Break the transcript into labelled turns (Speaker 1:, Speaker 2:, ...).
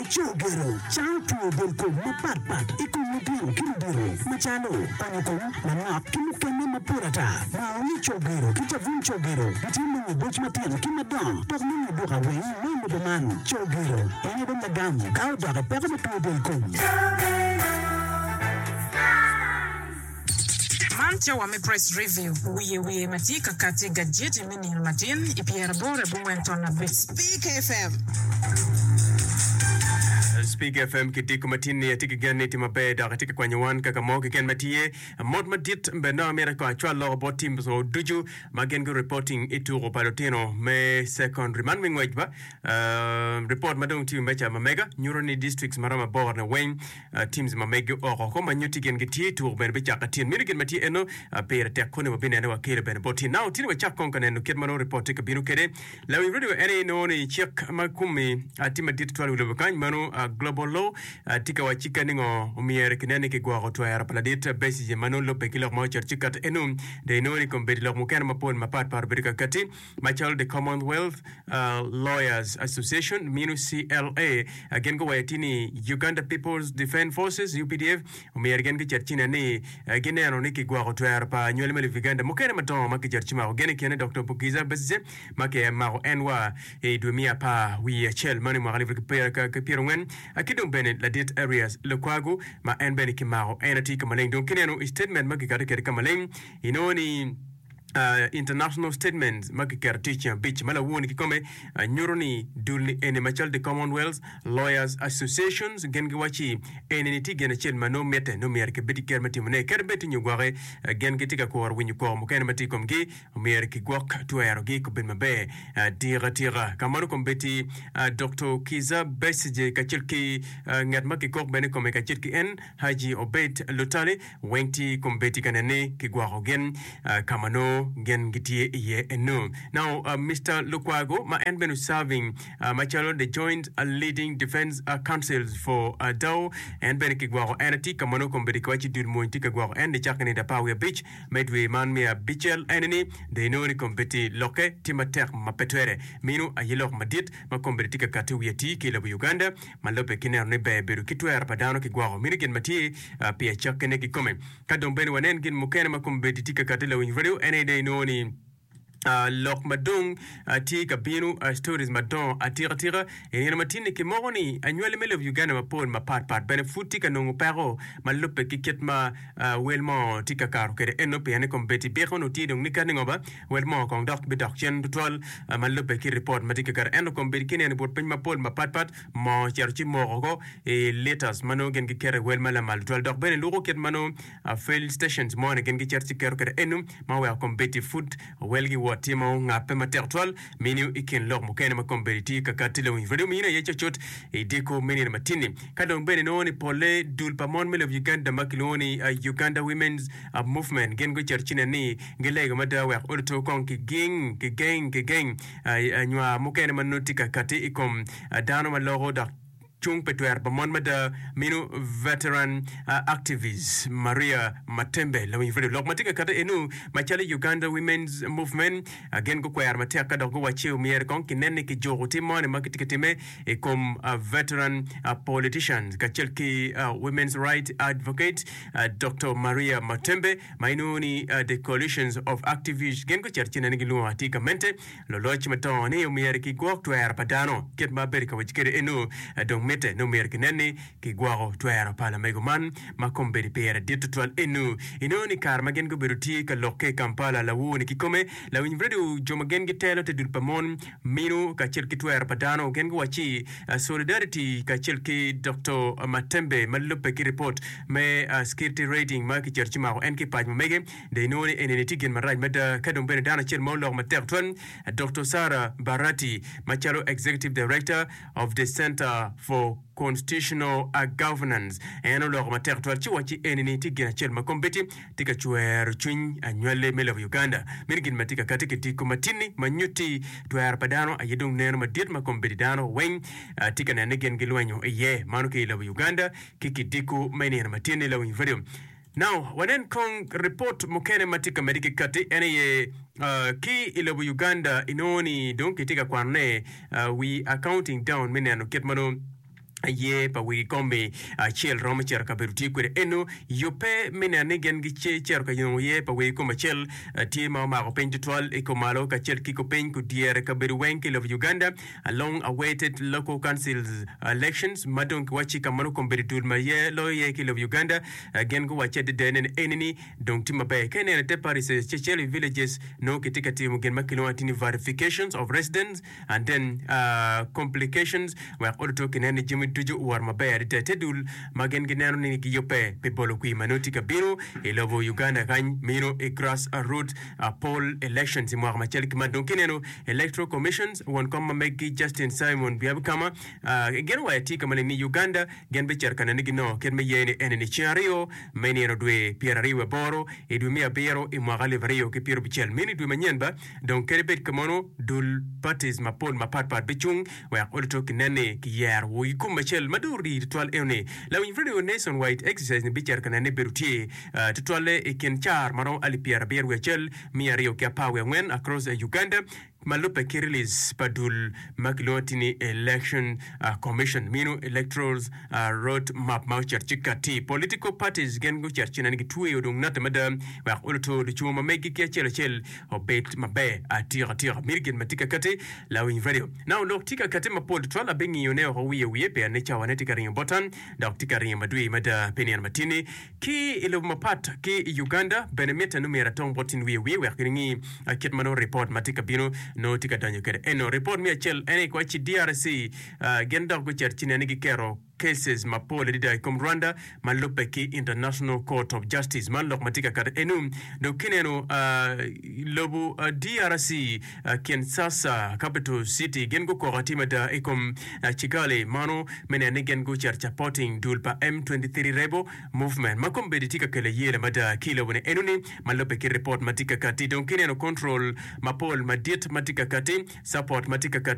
Speaker 1: Cogero cango two del kom mapat pat i kom lutino ki ludito macalo onyo kom manok ki mukene mapol ata. Nongo ni cogero ki cabun cogero gitye nongo boc matino ki madongo dok nongo duka weng me i lobo man. Cogero en aye dong lagam ka odok i peko me two del kom.
Speaker 2: Man cawa me Press Review, wiye wiye ma tye ka kati i gajeti me nino matin i pyeraboro abongwen ton abic.
Speaker 3: Speak FM.
Speaker 4: Speak FM ki diko matin ni atye ki gen ni itye maber dok itye ka kwanyo wan kaka mo keken ma tye. Mot madit bene nongo amito kong acwal loko bot teams wa ducu ma gin gu reporting i tuko pa lutino me secondary man me ngwec ba. Report ma dong tye i meja ma mega nyuto ni districts maromo aboro-ni weng Teams ma megi oko oko ma nyutti gin gitye i tuko bene bicako atin. Meno gin ma tye eno pire tek koni wabinene wakelo bene bot tin. Now tini wacak kong ka neno kit ma nongo report tye ka bino kwede. Lawiny radio en aye nongo ni cik ma kumi tye madit tutwal i wi lobo kany meno global law tye ka wacci ka ningo omyero kinen ni kigwoko twero pa ladit Besigye ma nongo lubbe ki lok ma ocito ci kati eno dong inongo ni kombeddi lok mukene mapol mapat pat obedo ka kati. Macalo The Commonwealth Lawyers Association mino CLA gin guwaco atir ni Uganda People's Defence Forces, UPDF, omyero gin gicit ci nen ni gineno ni kigwoko twero pa anywali me lobo Uganda mukene madongo ma kicito ci mako gin i kine Doktor Kizza Besigye ma kimako en wa i dwe me apar wiye acel meno i mwaka alip aryo ki pyerangwen ki dong bene ladit Erias Lukwago ma en bene kimako en atir ka maleng dong kineno i statement ma kikato kwede ka maleng inongo ni International Statements ma kiketo tye i ceng abic ma lawor-ni kikome nyuto ni dul-ni eni macalo The Commonwealth Lawyers Associations gin giwacci eni-ni tye gin acel ma nongo mitte nongo myero kibed ki ker me timone kadi bed tye nyo gwoki gin gitye ka kuro winyo koko mukene ma tye i komgi myero kigwok twerogi kubed maber atika tika. Ka meno kombeddi Doktor Kizza Besigye kacel ki ngat ma kikok bene i kome kacel ki en Haji Obeid Lutale weng tye kombeddi ka nen ni kigwoko gin ka ma nongo gin gitye iye eno. Now Mister Lukwago ma en bene serving macalo the Joint Leading Defence Councils for Dao en bene kigwoko en tye ka ma nongo kombeddi kiwaco dul mony tye ka gwoko en nicakke nino apar wiye abic me dwe man me abicel ene ni dong inongo ni kombeddi lokke tye matek ma pe twere. Meno aye lok madit ma kombeddi tye ka kati wiye atir ki i lobo Uganda. Ma lubbe ki neno ni ber bedo ki twero pa dano ki gwoko mini gin ma tye pi acakkine kikome. Ka dong bene wanen gin mukene ma kombeddi tye ka kati lawiny radio en aye dong inongo ni lok ma dong tye ka bino stories madongo atika tika i nino ma tinni kimoko ni anywali me lobo Uganda mapol mapat pat bene pud tye ka nongo peko ma lubbe ki kit ma wel mo tye ka kato kwede eno pien ni kombeddi byek onongo tye dong ni kadi ngo ba Wel moo kong dok bidok cen tutwal ma lubbe ki ripot ma tye ka kati. Ento kombeddi ki neno i but piny mapol mapatpat, moo ocito ci moko oko i liters ma nongo gin giketo i wel ma lamal tutwal. Dok bene luko kit ma nongo fill stations moni gin gicito ci keto kwede enu ma oweko kombeddi pud welgi wot tye ma ongabbe matek tutwal. Minu i kin lok mukene ma kombeddi tye ka kati lawiny radio mino aye cucut i dyeko me nino matin-ni. Ka dong bene inongo ni polle dul pa mon me lobo Uganda ma kilwongo ni Uganda Women's Movement gin gucito ci nen ni gilego mada wek oluto kong kiging, kigeng, kigeng nywar mukene ma nongo tye ka kati i kom dano ma loko dok cung pi twero pa mon mada mino Veteran Activist Maria Matembe lawiny radio lok ma tye ka kati enu macalo Uganda Women's Movement gin gukwero matek ka dok guwacci omyero kong kinen ni kijuko tim moni ma kitye ka time i kom veteran politicians kacel ki women's right advocate Doktor Maria Matembe ma inongo ni The Coalitions of Activists gin gucito ci nene gilwongo atir gamente luloc madongo ni omyero kigwok twero pa dano kit ma abedo ka waco kwede eno dong mitte ni omyero kinen ni kigwoko twero pa lamego man ma kombeddi pire dit tutwal eno inongo ni kare ma gin gubedo tye ka lokke i Kampala lawor ni kikome lawiny radio jo ma gin gitelo te dul pa mon Minu kacel ki twero pa dano gin guwacci Solidarity kacel ki Doktor Matembe ma lubbe ki ripot me Security Rating ma kicito ci mako en ki pac ma mege dong inongo ni enini tye gin marac mada ka dong bene dano acel ma oloko matek twal Doktor Sarah Barati macalo Executive Director of the Center for Constitutional Governance en oloko matek twal ci owacci enini tye gin acel ma kombeddi tye ka cwero cwiny anywalli me lobo Uganda. Meno gin ma tye ka kati ki diko matinni ma nyutti twero pa dano aye dong neno madit ma kombeddi dano weng tye ka neno ni gin gilwenyo iye. Mano ki i lobo Uganda ki kidiko me nino matinni lawiny radio. Now, wanen kong ripot mukene ma tye ka medde ki kati en aye ki i lobo Uganda inongo ni dong kitye ka kwanone we are counting down me neno kit ma nongo. Aye pa wegi kom-mi acel romo cito kabedo tye kwede eno. Yubbe me neno ni gin gicito ka nongo ye pa wegi kom acel tye ma omako piny tutwal i kumalo kacel ki kupiny kudyere kabedo weng ki i lobo Uganda along awaited local councils elections ma dong kiwacci ka ma nongo kombeddi dul ma ye loyo ye ki i lobo Uganda gin guwacci adada ni eni ni dong tye maber. Ka ineno i te parishes cel i villages nongo kitye ka timo gin ma kilwongo atir ni verifications of residence and then complications wek oluto kinen ni jami ducu owot maber adada. Te dul ma gin gineno ni giyubbe pi bolo kwir ma nongo tye ka bino i lobo Uganda kany mino i grass root poll elections i mwaka macalo ki man. Dong kineno Electoral Commissions won kom ma meggi Justin Simon Byabakama gin owaco atir ka maleng ni Uganda gin bicito ka neno ni ginongo kit me ye ni eni ni ceng aryo me nino dwe 28 i dwe me abiro i mwaka 2060 meno i dwe manyen ba Dong kadi bed kumeno, dul, parties, mapol mapat pat bicung wek oluto kinen ni kiyero wigi kom acel ma dong orii tutwal eno ni lawiny radio Nation Wide Exercise ni bicito ka nene ni bedo tye tutwalle i kin car maromo alip 71,214 across Uganda ma lubbe ki release pa dul ma kilwongo atir ni Election Commission meno Electoral Road Map ma ocito ci kati. Political parties gin gucito ci nene gitweyo dong nate mada wek oluto lucungo ma meggi ki acel acel obed maber atika tika. Miti gin ma tye ka kati lawiny radio. Now lok tye ka kati mapol tutwal abingiyo ne oko wiye wiye pien ni cawa ne tye ka ringo bota dok tye ka ringo madwir mada pi nino matini. Ki i lobo mapat ki i Uganda bene mitte ni myero atong bot tin wiye wiye wek gin ingi kit ma nongo ripot ma tye ka bino nongo tye ka donyo kwede. Eno ripot me acel en aye kiwacci DRC gin dok gucito ci nen ni giketo cases mapol adada i kom Rwanda ma lubbe ki International Court of Justice. Man lok ma tye ka kato enu. Dong kineno lobo DRC, Kinshasa capital city gin gukoko atir mada i kom Kigali mano me neno ni gin gucito supporting dul pa M23 Rebel Movement ma kombeddi tye ka kelo ayela mada ki i lobo-ni enoni ma lubbe ki ripot ma tye ka kati. Dong kineno control mapol madit ma tye ka kati, support ma tye ka kati.